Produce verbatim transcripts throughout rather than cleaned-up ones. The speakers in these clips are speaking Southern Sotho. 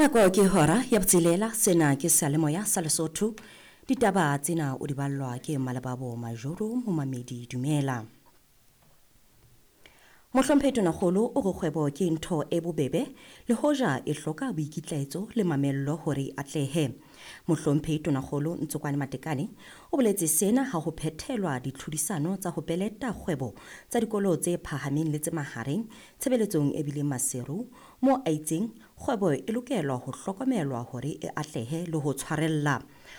Nako ke hora ya botshelela, sena ke seyalemoya sa Lesotho. Ditaba tsena o di ballwa ke Malebabo Majoro Momamedi Dumela. Mohlomphehi Tonakgolo o re kgwebo ke ntho e bobebe le hoja e hloka boikitlaetso le mamello hore e atlehe. Mohlomphehi Tonakgolo Ntsokwane Matekane o boletse sena ha ho phethelwa ditlhodisano tsa ho peleta kgwebo tsa dikolo tse phahameng le tse mahareng tshebeletsong e bileng Maseru, moo a itseng kgwebo e lokelwa ho hlokomelwa hore e atlehe le ho tshwarella.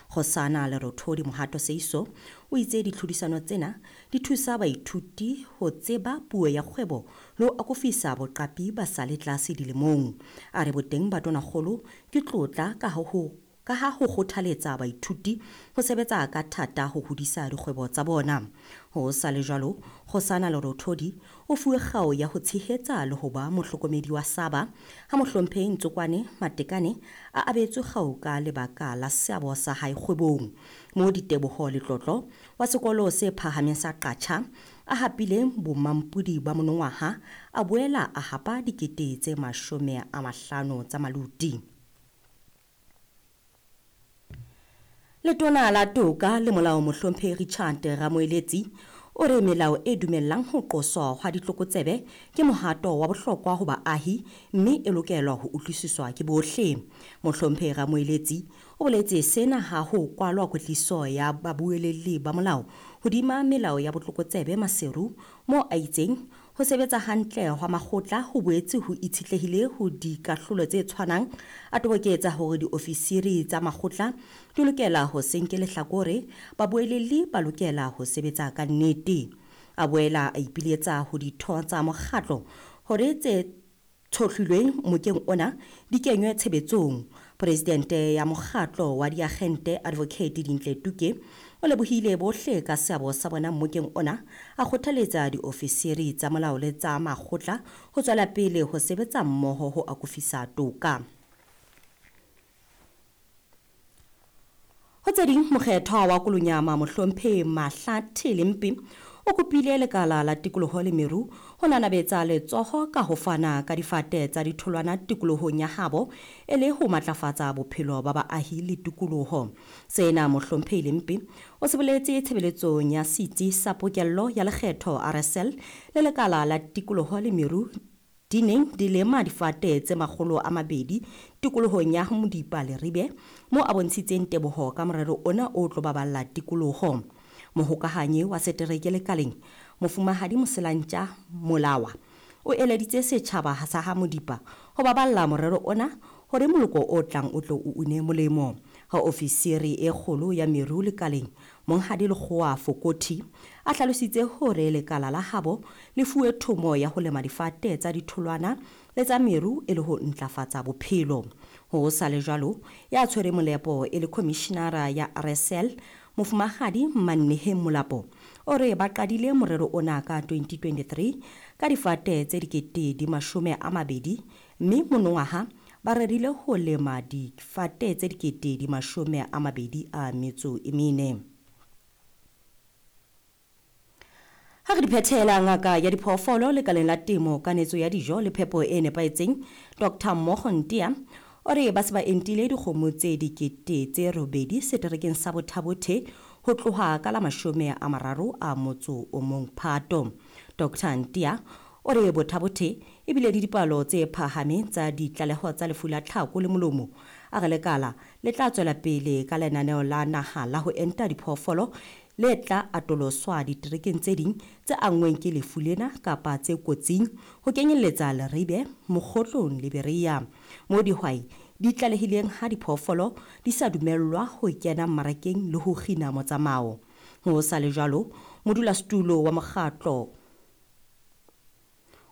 Kgosana Lerothodi Mohato Seiso o itse ditlhodisano tsena di thusa baithuti ho tseba puo ya kgwebo le ho akofisa boqapi ba sa le tlase dilemong. A re boteng ba Tonakgolo ke tlotla ka ho ka ha ho kgothaletsa baithuti ho sebetsa ka thata ho hodisa dikgwebo tsa bona. Ho sa le jwalo, Kgosana Lerothodi o fuwe kgao ya ho tshehetsa le ho ba mohlokomedi wa Saba ha Mohlomphehi Ntsokwane Matekane a abetswe kgao ka lebaka la seabo sa hae kgwebong. Moo Diteboho Letlotlo wa sekolo se phahameng sa Qacha a hapileng bomampodi ba monongwaha a boela a hapa dikete tse mashome a mahlano tsa maluti. Letona la Toka le Molao Mohlomphehi Richard Ramoeletsi o re melao e dumellang ho qoswa hwa ditlokotsebe ke mohato wa bohlokwa ho baahi mme e lokelwa ho utlwisiswa ke bohle. Mohlomphehi Ramoeletsi o boletse sena ha ho kwalwa kwetliso ya babuelelli ba molao hodima melao ya botlokotsebe Maseru, moo a itseng ho sebetsa hantle hwa makgotla ho boetse ho itshetlehile ho dikahlolo tse tshwanang. A toboketsa hore diofisiri tsa makgotla di lokela ho se nke lehlakore, babuelelli ba lokela ho sebetsa ka nnete. A boela a ipiletsa ho ditho tsa mokgatlo hore tse tshohlilweng mokeng ona di kenywe tshebetsong. Presidente ya mokgatlo wa diagente Advocate Dintle Tuke o lebohile bohle ka seabo sa bona mokeng ona, a kgothaletsa diofisiri tsa molao le tsa makgotla ho tswela pele ho sebetsa mmoho ho akofisa toka. Ho tse ding, mokgethwa wa Kolonyama Mohlomphehi Mahlathe Lempe o kopile lekala la tikoloho le meru ho nanabetsa letsoho ka ho fana ka difate tsa ditholwana tikolohong ya habo e le ho matlafatsa bophelo ba baahi le tikoloho. Sena Mohlomphehi Lempe o se boletse tshebeletsong ya setsi sa pokello ya lekgetho R S L le lekala la tikoloho le meru di neng di lema difate tse makgolo a mabedi tikolohong ya Modipa Leribe, moo a bontshitseng teboho ka morero ona o tlo baballa tikoloho. Mohokahanyi wa setereke lekaleng Mofumahadi Moselantja Molawa o eleditse setjhaba sa ha Modipa ho baballa morero ona hore moloko o tlang o tlo o une molemo. Ha ofisiri e kgolo ya meru lekaleng Monghadi Lekgowa Fokothi a hlalositse hore lekala la habo le fuwe thomo ya ho lema difate tsa ditholwana le tsa meru e le ho ntlafatsa bophelo. Ho sa le jwalo, ya tshwere molepo e le commissionara ya R S L Mofumahadi Manneheng Molapo o re ba qadile morero ona ka twenty twenty-three ka difate tse dikete di mashome a mabedi mme monongwaha ba rerile ho lema difate tse dikete di mashome a mabedi a metso e mene. Ha re di phethela, ngaka ya diphoofolo lekaleng la temo, kanetso ya dijo le phepo e nepahetseng Doctor Mogontia o re ba se ba entile dikgomo tse dikete tse robedi seterekeng sa Bothabothe ho tloha ka la mashome a mararo a motso o mong Phato. Doctor Ntia o re Bothabothe ebile le dipalo tse phahameng tsa ditlaleho tsa lefu la tlhako le molomo. A re lekala le tla tswela pele ka lenaneo la naha la ho enta diphoofolo le tla atoloswa diterekeng tse ding tse anngweng ke lefu lena kapa tse kotsing ho kenyelletsa Leribe, Mokgotlong le Berea, moo dihwai di tlalehileng ha diphoofolo di sa dumellwa ho kena mmarakeng le ho kgina motsamao. Ho sa le jwalo, modulasetulo wa mokgatlo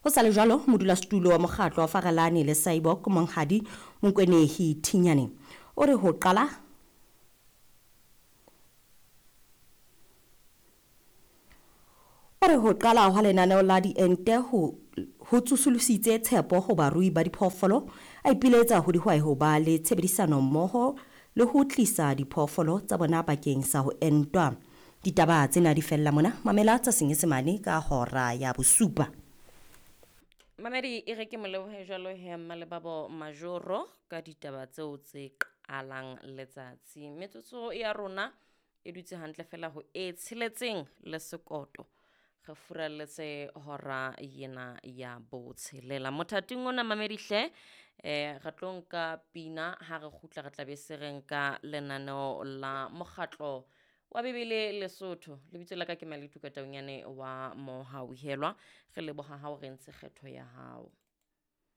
Ho sa le jwalo, modulasetulo wa mokgatlo wa Farelane le Saibok Monghadi Monkwenehi Thinyane o re ho qala o re ho qala hwa lenaneo la diente ho ho tsosolositse tshepo ho barui ba diphoofolo, a ipiletsa ho dihwai ho ba le tshebedisano mmoho le ho tlisa diphoofolo tsa bona bakeng sa ho entwa. Ditaba tsena di fella mona, mamela tsa Senyesemane ka hora ya bosupa. Mamedi e re ke molebohe jwalo he Mmalebabo Majoro ka ditaba tseo tse qalang letsatsi. Metsotso ya rona e dutse hantle fela ho e tsheletseng le sekoto. Re furalletse hora yena ya botshelela. Mothating ona mamedi hle eh re tlo nka pina ha re kgutla re tla be se re nka lenaneo la mokgatlo wa Bibele Lesotho. Lebitso la ka ke Maletu Kataunyane wa Mohauhelwa. Re leboha ha o re ntse kgetho ya hao.